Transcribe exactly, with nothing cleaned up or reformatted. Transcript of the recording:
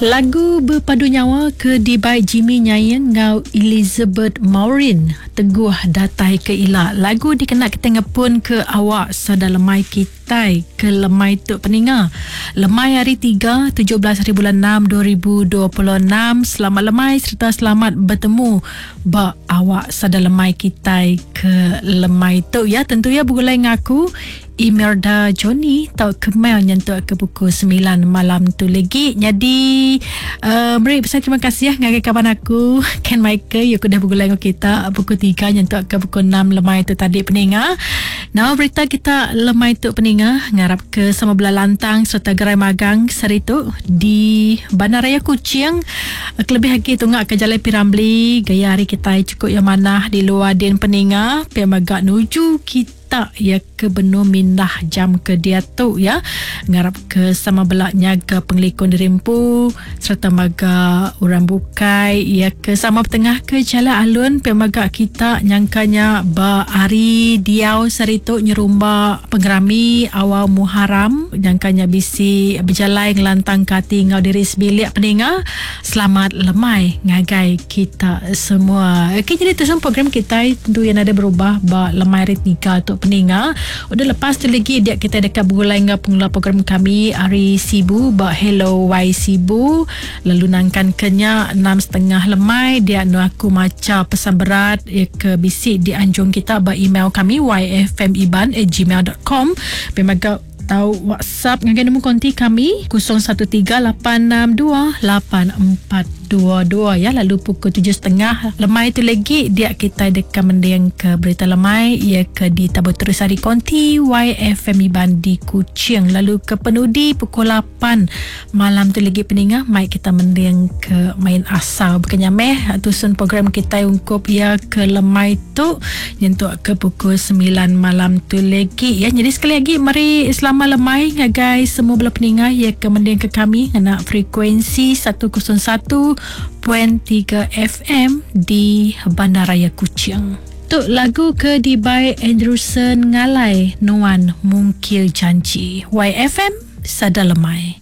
Lagu Berpadu Nyawa ke dibai Jimmy Nyaing ngau Elizabeth Maureen Teguh Datai Ke Ila. Lagu dikena kita ngepun ke awak sada lemai kitai ke lemai tu peninga. Lemai hari tiga tujuh belas hari bulan enam dua ribu dua puluh enam. Selamat lemai serta selamat bertemu ba awak sada lemai kitai ke lemai tu ya. Tentu ya begulai ngaku Imelda Johnny tau kemel nyentuk ke pukul sembilan malam tu lagi. Jadi uh, beri besar terima kasih ngagai kawan aku Ken Michael yang sudah bergulai dengan kita pukul tiga nyentuk ke pukul enam lemai tu tadi peninga. Nah berita kita lemai tu peninga ngarap ke sama belah lantang serta gerai magang sehari tu di Bandaraya Kuching. Kelebih lagi tunggak ke Jalai Piramli gaya hari kita cukup yang manah di luar din peninga pia magak nuju kita tak ya ke benua mindah jam ke dia tu ya. Ngarap ke sama belak nyaga pengelikun dirimpu serta maga orang bukai ya ke sama bertengah ke jalan alun pe maga kita nyangkanya ba hari diau saritu nyerumba pengerami awal Muharram nyangkanya bisi berjalai ngelantang kati ngau diri sebilik peninga. Selamat lemai ngagai kita semua. Okey, jadi tu semua program kita tentu yang ada berubah ba lemai hari tiga tu peninga. Udah lepas tu lagi dia kita dekat bergulai dengan pengelola program kami hari Sibu ba Hello Y Sibu. Lalu nangkan kenya enam setengah lemai dia nu aku maca pesan berat ya ke bisi di anjung kita ba email kami y f m iban at gmail dot com. Pemaga tahu WhatsApp ngagai nombor konti kami kosong satu tiga lapan enam dua lapan empat dua dua ya. Lalu pukul tujuh setengah lemai tu lagi dia kita dekat mending ke berita lemai ia ke di Tabur Terus hari konti Y F M Iban di Kuching. Lalu ke penudi pukul lapan malam tu lagi peninga mai kita mending ke main asal bukannya meh tusun program kita ungkup ia ke lemai tu nyentuk ke pukul sembilan malam tu lagi ya. Jadi sekali lagi mari selamat lemai ngagai semua bela peninga ia ke mending ke kami ngena frekuensi seratus satu titik tiga F M di Bandaraya Kuching. Tuk lagu ke dibai Andrewson Ngalai Nuan Mungkil Janji. Y F M Sada Lemai.